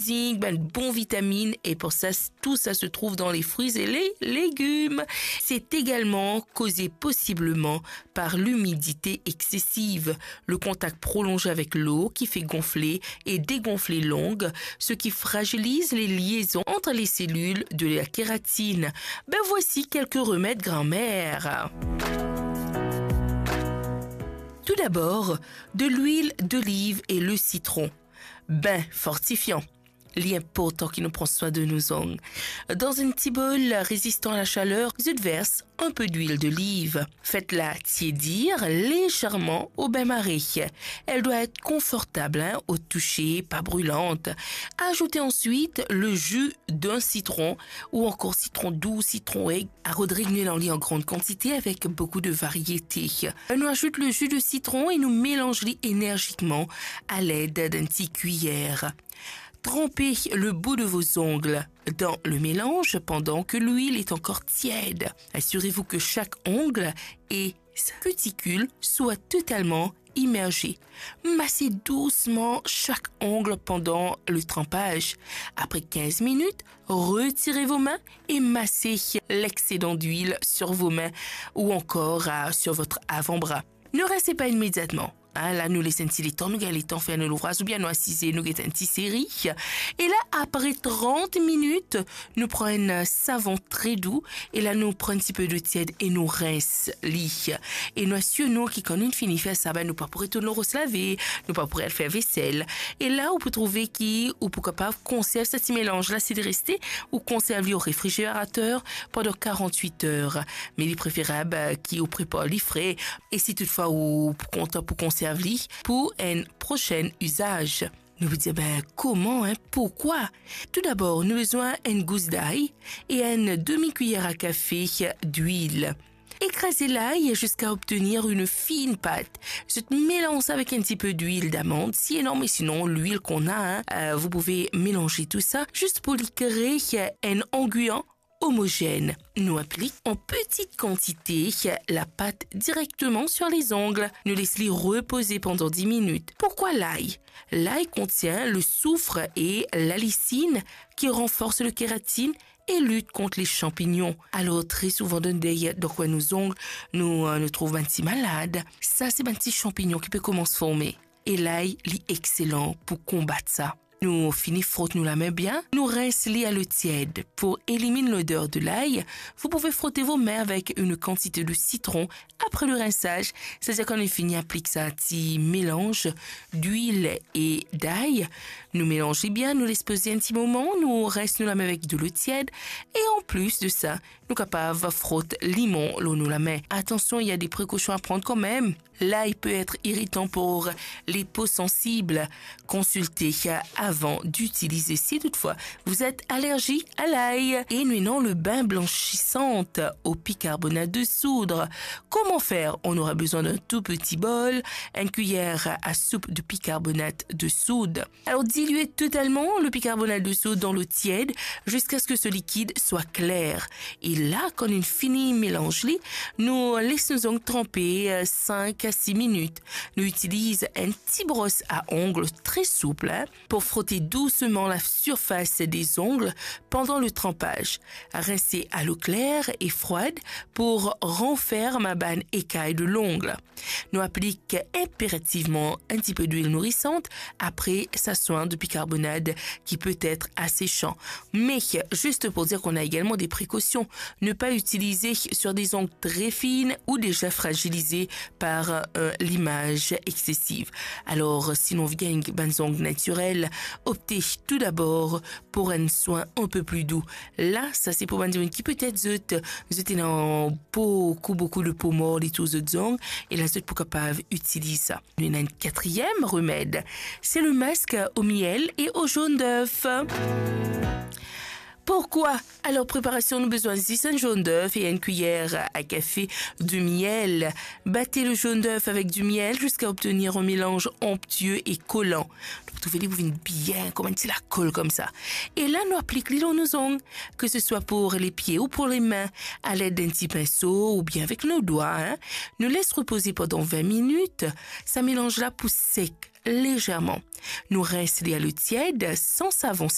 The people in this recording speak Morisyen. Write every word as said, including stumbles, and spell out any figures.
zinc, bann bon vitamine, et pour ça, tout ça se trouve dans les fruits et les légumes. C'est également causé possiblement par l'humidité excessive, le contact prolongé avec l'eau qui fait gonfler et dégonfler l'ongle, ce qui fragilise les liaisons entre les cellules de la kératine. Ben, voici quelques remèdes grand-mère. Tout d'abord, de l'huile d'olive et le citron. Bain fortifiant. Li inportan ki nou pran swin de nou zong. Dan enn ti bol rezistan a la chaleur, zot vers un peu d'huile d'olive. Faites-la tiédir légèrement au bain-marie. Elle doit être confortable, hein, au toucher, pas brûlante. Ajoutez ensuite le jus d'un citron ou encore citron doux, citron aigre. À Rodrigue, nou ena li en grande quantité avec beaucoup de variétés. Nou ajout le jus de citron et nou mélanz li énergiquement à l'aide d'un ti cuillère. Trempez le bout de vos ongles dans le mélange pendant que l'huile est encore tiède. Assurez-vous que chaque ongle et sa cuticule soient totalement immergés. Massez doucement chaque ongle pendant le trempage. Après quinze minutes, retirez vos mains et massez l'excédent d'huile sur vos mains ou encore, euh, sur votre avant-bras. Ne rincez pas immédiatement. Hein, la, nou les enn ti letan, nou gagn letan fer nou louvraz, oubien nou asize, nou get enn ti seri. E la, apre trant minit, nou pran enn savon tre dou, e la, nou pran enn tipe dlo tied e nou rins li. E nou asir nou ki kan nou fini fer sa, ben, nou pa pou retourn ros lave, nou pa pou al fer vesel. E la, ou pou trouve ki ou pou kapav konserv sa ti melanz la, si li reste, ou konserv li o refrigerater pandan karant-wit er. Me li preferab, eh, ki ou prepar li fre, e si toutfwa ou pou kontan pou konserv li pou enn prosenn izaz. Nou pou dir, ben, koman, hein, pourkwa? Toudabor, nou bizin enn gous lay e enn demi kuiyer a kafe dwil. Écrasez l'ail jusqu'à obtenir une fine pâte. Zot melanz avek enn tipe dwil damand, si ena, me sinon, lwil k'ou ena, hein, euh, vous pouvez mélanger tout ça, zis pou li kree enn anguyan omogèn. Nou aplik en petite quantité la pâte directement sur les ongles. Nou les li repoze pandan dis minit. Pourquoi l'ail? L'ail contient le soufre et l'allicine qui renforcent le kératine et luttent contre les champignons. Alor, tre souvan dan, dan kwen nou zong, nou, euh, nou trouv bann ti malad. Sa, se bann ti chanpignon ki pe koumans forme. E lay, li exelan pou konbat sa. Nou fini frot nou lame bien, nou rins li a lo tied. Pour éliminer l'odeur de l'ail, vous pouvez frotter vos mains avec une quantité de citron après le rinçage, c'est-à-dire kan nou fini aplik sa ti melanz dwil e lay, nou melanz li bien, nou les poze enn ti moman, nou rins nou lame avek dlo tied, e an plis de sa, nou kapav frot limon lor nou lame. Attention, il y a des précautions à prendre quand même. L'ail peut être irritant pour les peaux sensibles. Consultez avant d'utiliser si toutefois vous êtes allergique à l'ail. Et nou ena le bain blanchissant au bicarbonate de soude. Comment faire? On aura besoin d'un tout petit bol, une cuillère à soupe de bicarbonate de soude. Alors, diluez totalement le bicarbonate de soude dans l'eau tiède jusqu'à ce que ce liquide soit clair. E la, kan nou fini melanz li, nou les nou zong tranpe, euh, cinq à six minutes. Nou itiliz enn ti bros a ongl très souple, hein, pour frotter doucement la surface des ongles pendant le trempage. Rincez à l'eau claire et froide pour renfermer bann écailles de l'ongle. Nou aplik inperativman enn tipe dwil nourisant apre sa swin de bicarbonate qui peut être asséchant. Mais, juste pour dire qu'on a également des précautions, ne pas utiliser sur des ongles très fines ou déjà fragilisés par, euh, l'image excessive. Alors, si nou anvi gagn bann zong natirel, optez tout d'abord pour un soin un peu plus doux. La, sa se pou bann dimoun ki petet zot, zot ena boukou, boukou de po mor lor zot zong, e la zot pou kapav itiliz sa. Nou ena enn katriem remed, c'est le masque au miel et au jaune d'œuf. Pourquoi? Alors, préparation, nou bizin zis enn jaune d'œuf et une cuillère à café de miel. Battez le jaune d'œuf avec du miel jusqu'à obtenir un mélange onctueux et collant. Nou pou trouve li pou vinn bien, kouma enn ti lakol koumsa. E la, nou aplik li lor nou zong, que ce soit pour les pieds ou pour les mains, à l'aide d'un petit pinceau ou bien avec nos doigts, hein. Nou les repoze pandan vin minit, sa melanz la pou sek légèrement. Nou rins li a lo tied, san savon,